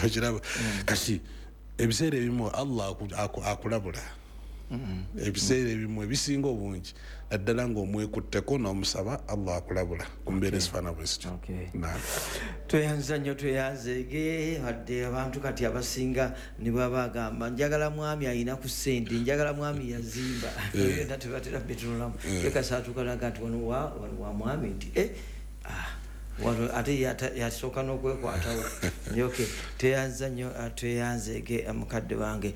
Okiraba? Kati ebiseera ebimu Allah akulabula. Ebiseera ebimu ebisinga obungi, naddala ng'omwekutteko n'omusaba, Allah akulabula ku mbeera ezifaana bwe zityo. Tweyanza nnyo, tweyanzeege. Wadde abantu kati abasinga ne bwaba agamba, "Njagala mwami ayina ku ssente, njagala mwami yazimba," byonna tebatera bitunulamu. Yekasaatuukanaga nti wano wa mwami nti ah, wano ate yasooka n'okwekwatawo. Ok, tweyanza nnyo, tweyanzeege mukadde wange.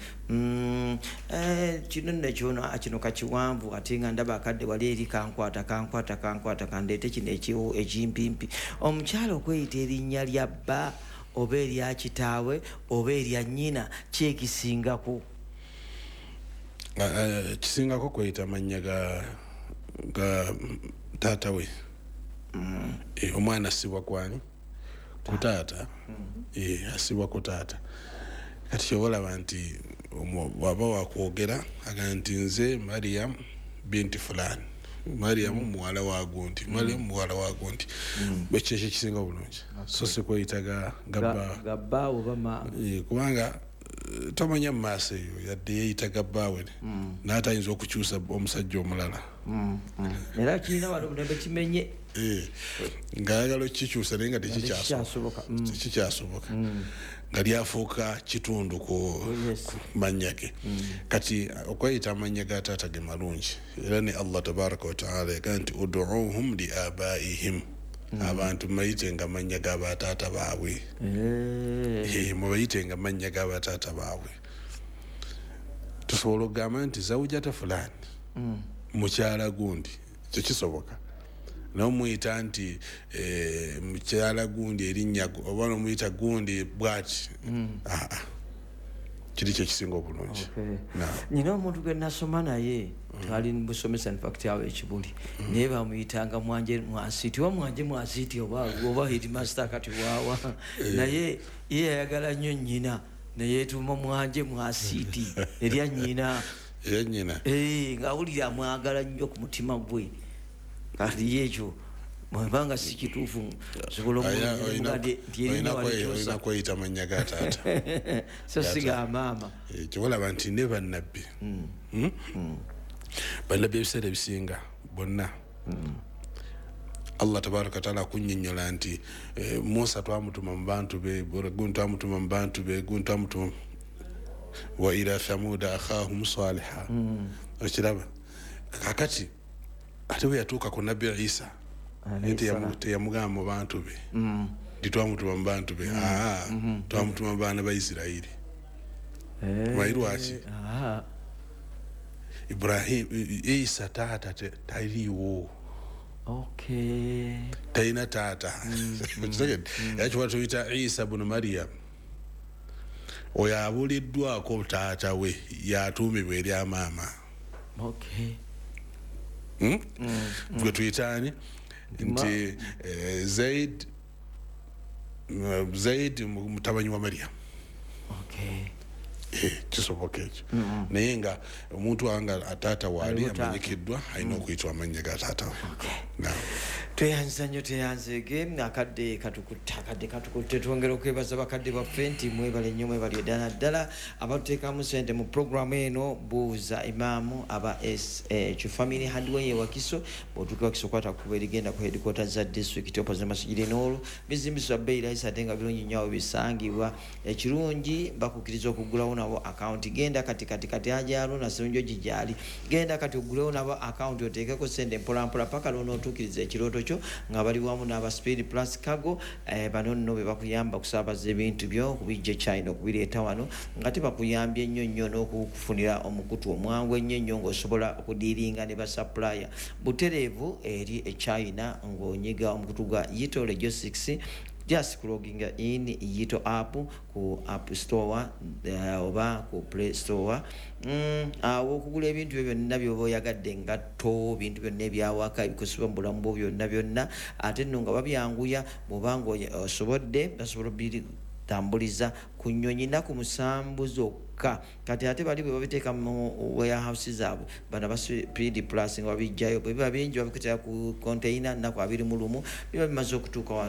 Kino nno kyono, kino kakiwanvu, ate nga ndaba akadde wali eri kankwata, kankwata, kankwata, kandeete kino ekimpimpi. Omukyala okweyita erinnya lya bba oba erya kitaawe oba erya nnyina, kyekisingako? Kisingako kweyita mannya ga taata we. Omwana asibwa kwani? Ku taata. Asibwa ku taata. Kati kyoba olaba nti waba wakwogera aga nti, "Nze Mariam binti fulani, Mariam muwala wa gundi, Mariam muwala wa gundi," ekyo ekyo kisinga obulungi, so si kweyita gabba. Gabba oba ma. Kubanga tomanya mu maaso eyo, yadde yeeyita gabbaawe, naye ayinza okukyusa omusajja omulala. Era kirina wano omulembe kimenye. Ng'ayagala okukikyusa, naye nga tekikyasoboka. Tekikyasoboka. Tekikyasoboka, nga lyafuuka kitundu ku Oh. ku mannya ge. Kati okweyita amannya ga taata ge malungi, era ne Allah tabaraka wataala yagaa nti, "Uduuhum li abaihim," abantu mubayite nga mannya ga bataata baabwe. Mubayite nga mannya ga bataata baabwe. Tusobola okugamba nti zawujata fulani, mukyala gundi, ekyo kisoboka, naye omuyita nti mukyala gundi erinnya oba nomuyita gundi bwati, ah. Kiri kyekisinga obulungi. Nina omuntu gwe nasoma naye, twali busomesa, infact awo ekibuli, naye bamuyitanga Mwanje Mwasiti, oba Mwanje Mwasiti oba headmaster kati waawa, naye ye yayagala nnyo nnyina, neyeetuma Mwanje Mwasiti erya nnyina. Era nnyina. Ng'awulira amwagala nnyo ku mutima gwe. Kati ye ekyo bwebanga si kituufu, nsobola omuga nti erinnya walikyusa. Olina kweyita mannya ga taata. So si ga maama. Kyolaba nti ne bannabbi, Bannabbi ebiseera ebisinga bonna Allah tabaraka wataala akunnyonnyola nti Musa twamutuma mu bantu be, gundi twamutuma mu bantu be, gundi twamutuma, wa ila thamuda akhahum saliha. Okiraba? Kakati ate bwe yatuuka ku Nabbi Isa, naye teyamugamba mu bantu be nti twamutuma mu bantu be. Aa, twamutuma mu baana ba Isirayiri. Omanyi lwaki? Ibrahim, Isa taata taliiwo. Talina taata. Okitegedde? Era kiba tuyita Isa bunu Mariam, oyo abuliddwako taata we, yatuumibwa erya maama. Hmm? Gwe tuyitaani nti Zaid, Zaid mutabanyi wa Mariam. Kisoboka ekyo, naye nga omuntu wanga taata waali Aliwo taata. amanyikiddwa, alina okuyitwa amannya ga taata we. Naam. Tweyanza nnyo, tweyanzeege. Akadde katukutte, akadde katukutte. Twongera okwebaza bakadde baffe nti mwebale nnyo, mwebale ddala ddala abatuteekamu sente mu puroguramu eno Buuza Imaamu, aba SH Family Hardware e Wakiso. Bw'otuuka Wakiso, kwata kuba erigenda ku headquarters za district, opposite Masjid Noor. Bizimbisibwa bbeeyi rahisi ate nga birungi nnyo awo bisangibwa. Ekirungi, bakukkiriza okuggulawo nabo akawunti. Genda kati kati kati, ajaluna Serunjogi gyali, genda kati oggulewo nabo akawunti, oteekeko sente mpolampola paka lwonootuukiriza ekirooto kyo nga bali wamu n'aba Speed Plus Cargo. Bano nno be bakuyamba okusaabaza ebintu byo okubijja e China okubireeta wano, nga tebakuyambye nnyo nnyo n'okukufunira omukutu omwangu ennyo ennyo ng'osobola okudiiringa ne basupplier butereevu eri e China ng'onyiga omukutu gwa Yito Logistics. Just kuloginga in Yito app ku App Store oba ku Play Store. Awo okugula ebintu byo byonna byoba oyagadde, engatto, bintu byonna ebyawaka ebikozesebwa mu bulamu bwo byonna byonna, ate nno nga babyanguya. Bw'oba nga osobodde, basobola obitambuliza ku nnyonyi 7 zokka. Kati ate bali bwe babiteeka mu warehouse zaabwe, bano aba Speed Plus nga babijjayo, bwe biba bingi babikutera ku container, 21 biba bimaze okutuuka wano.